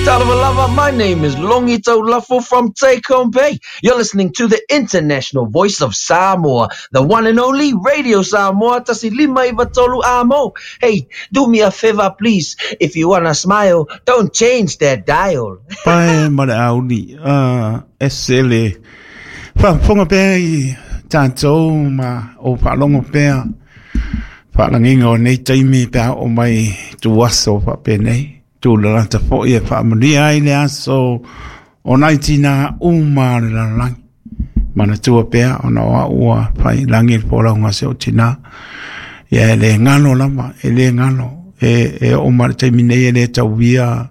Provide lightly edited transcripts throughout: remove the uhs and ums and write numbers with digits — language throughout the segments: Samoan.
Lava, my name is Longi Taulafo from Take Home Bay. You're listening to the international voice of Samoa, the one and only Radio Samoa, tasi lima iva tolu amo. Hey, do me a favor, please. If you wanna smile, don't change that dial. Pae ma le auli, ese le faafofoga pea i tatou ma ou faalogo pea faalagiga o nei taimi pe a oo mai tuaso faapenei. Tūlalata foi e faamanuia ai le aso o nai tinā uma o le lalolagi. Manatua pea ona o au ua fai lagi le folauga a si ou tinā. Ia e le galo lava, e le galo. E, e oo mai le taimi nei e le tauia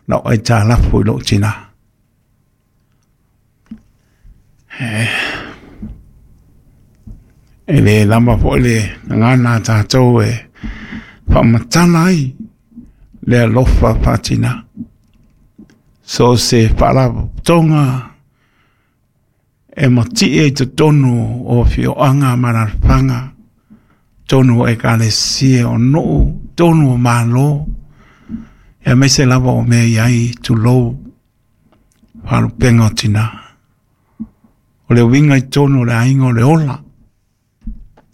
lau aitalafu i lou tinā. E le lava foi le gagana a tatou e faamatala ai le alofa faatina. So se faalapotopotoga e matie i totonu o afioaga ma alaalafaga, totonu o ekalesia, o nuu, totonu o Malo, aemaise lava o mea i ai, tulou, faalupega o tinā. O le uiga i totonu o le aiga o le ola.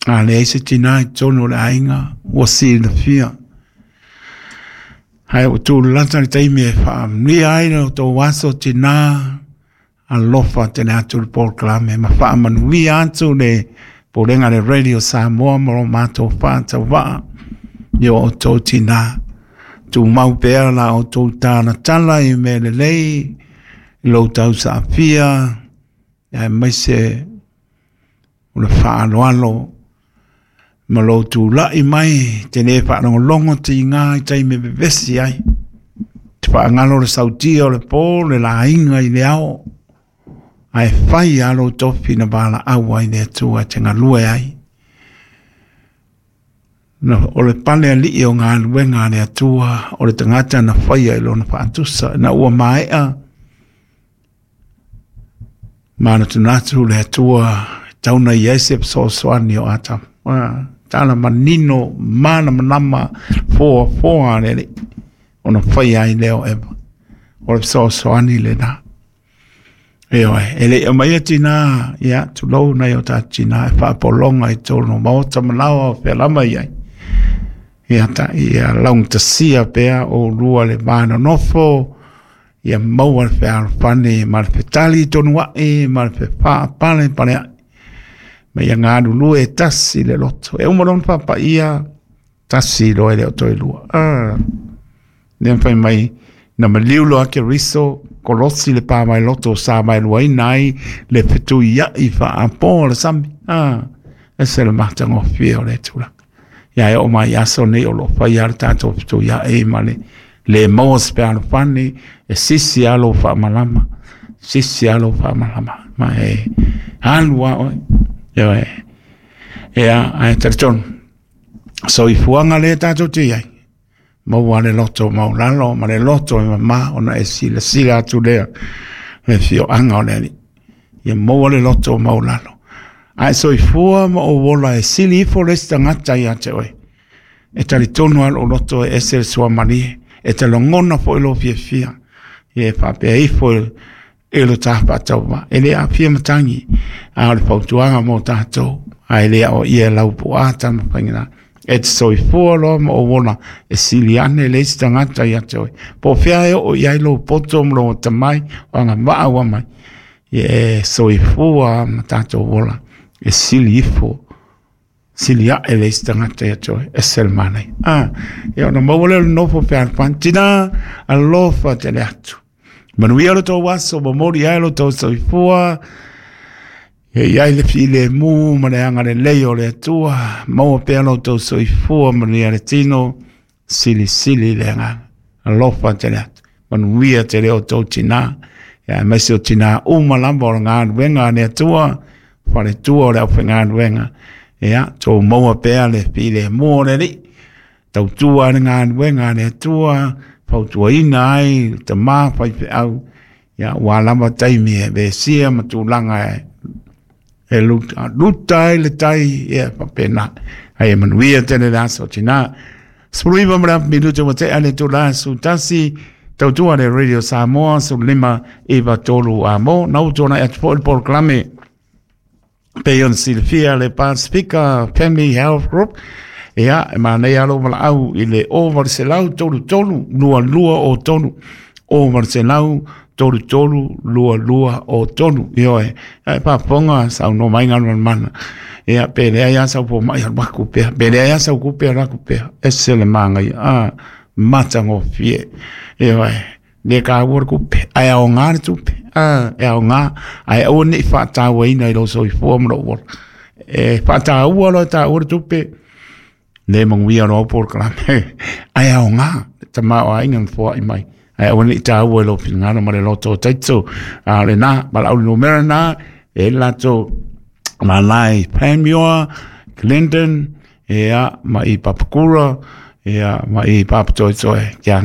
A leai se tinā i totonu o le aiga, ua silafia. Ae ua tūlalata le taimi e faamanuia ai lo outou aso tinā, alofa tele atu le polokalame ma faamanuia atu le Pulega le Radio Samoa ma lo matou faatauvaa i o outou tinā. Tumau pea la outou talatala i mea lelei, i lo outou saafia, aemaise o le faaaloalo ma lou tulai mai te le faalogologo tiga i taimi e vevesi ai. Te faagalo le sautia o le po, le laiga i le ao, ae fai lava lou tofi na valaau ai le Atua e te galue ai. Na, o le pale alii o galuega a le Atua, o le tagata na faia i lona faatusa, ina ua maea manatunatu le Atua e tau na i ai se fesoasoani o Atamu. Ah, tala manino, malamalama, foafoa a le Alii, ona faia ai lea o Eva. O le fesoasoani lena. Ioe, e le i aumaia tinā, ia, tulou nai o tātou tinā e faapologa i totonu o maota ma laoa o fea lava i ai. Ia, ta, ia laugatasia pea oulua le va nonofo, ia maua le fealofani ma le fetali tonu a'i ma le fefaapalepale a'i. Ma ia galulue e tasi le loto. E uma loa ona faapaia, tasi loa e le o toe lua. Ah, lea fai mai, na maliu loa Keriso, kolosi le pā mai loto sa mai luaina ai le fetuiai faapo o le sami. Ah, ese le matagofie o le tulaga. Ia e oo mai aso nei o lo o faia le tatou fetuiai ma le le maua se fealofani e sisi lava lou faamalama, sisi lava lou faamalama ma e alu lava oe. Ioe. Ia, ae talitonu, soifuaga lea tatou te i ai, maua le loto maualalo ma le loto e mamā ona e silasila atu lea le afioaga o le Alii. Ia maua le loto maualalo. Ae soifua ma ou ola e sili ifo le isi tagata ia te oe. E talitonu lava lou loto e ese le suamalie, e te lagona foi lou fiafia. Ia e faapea ifo e lo ta faatauvaa. E le aafia matagi, a o le fautuaga mo tatou, ae le aoaia e lau puaa tama faigata. E te soifua loa ma ou ola e sili ane le isi tagata ia te oe. Po o fea e oo i ai lou poto ma lou atamai, o agavaa ua aumai, ia e soifua ma tatou ola e sili ifo sili ae le isi tagata ia te oe, ese le manaia. Ah, ia ona maua lea o le nofo fealofani. Tina, alofa tele atu. Manuia lo tou aso, momoli ai lo tou soifua, e i ai le filemu ma le agalelei o le Atua, maua pea lo tou soifua, manuia le tino, silisili le agaga. Alofa tele atu. Manuia tele o tou tinā, ia aemaise o tinā uma lava o le galuega a le Atua, faletua o le aufaigaluega, ia tou maua pea le filemu o le Alii, tautua ai le galuega a le Atua, fautuaina ai le tama faifeau, ia ua lava taimi e vesia ma tulaga e luta, luta ai le tai, ia faapena. Ai e manuia tele le aso tinā. 19 ma le afu minute ua tea le itula 11, Tautua le Radio Samoa 15 93 amo na utona atu po le polokalame pei ona silafia le Pasifika Family Health Group. Ia, e manaia lou valaau i le 0833 22 o 3, 0833 22 o 3. Ioe, e faafofoga saunoa mai galumalemana. Ia, pe leai a sau fomai, alu aku pea. Pe leai a sau kupe, alu aku pea. Ese le magaia a matagofie. Ioe, le kaua le kupe, ae aoga le tupe a, e aoga, ae aua nei faatauaina i lou soifua ma lou ola. E faataua loa, taua le tupe, le manuia loa au polokalame, ae aoga le tamaoaiga na foai mai, ae aua nei taua i lou finagalo ma le loto taito. A o lena valaau le numera na e latou lalai Panmure, Glendon, ia, ma i Papakura, ia, ma i Papatoetoe. Kia